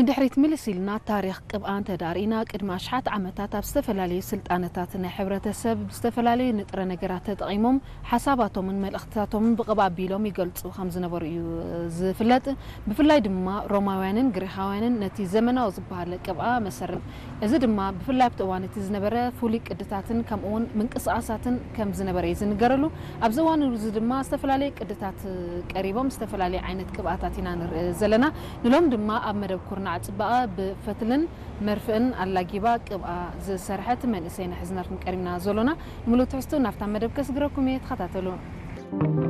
ንድሕሪት ምልስ ኢልና ታሪኽ ቅብኣ እንተዳርኢና፣ ቅድሚ ኣሽሓት ዓመታት ኣብ ዝተፈላለዩ ስልጣነታት ናይ ሕብረተሰብ ብዝተፈላለዩ ንጥረ ነገራት ተጠቒሞም ሓሳባቶምን መልእኽትታቶምን ብቕብኣ ኣቢሎም ይገልጹ ከም ዝነበሩ እዩ ዝፍለጥ። ብፍላይ ድማ ሮማውያንን ግሪኻውያንን ነቲ ዘመናዊ ዝበሃል ቅብኣ መሰረት፣ እዚ ድማ ብፍላይ ኣብቲ እዋን እቲ ዝነበረ ፍሉይ ቅድታትን ከምኡ እውን ምንቅስቓሳትን ከም ዝነበረ እዩ ዝንገረሉ። ኣብዚ እዋን እዚ ድማ ዝተፈላለዩ ቅድታት ቀሪቦም ዝተፈላለየ ዓይነት ቅብኣታት ኢና ንርኢ ዘለና። ንሎም ድማ ኣብ መደብ ኩርናዕ ጽባቐ ብፈትልን መርፍእን ኣላጊባ ቅብኣ ዝሰርሐት መንእሰይ ኢና ሒዝናልኩም ቀሪብና ዘሎና። ንምሉእ ትሕዝቱ ናብታ መደብ ከስግረኩም እየ፣ ተኸታተሉ።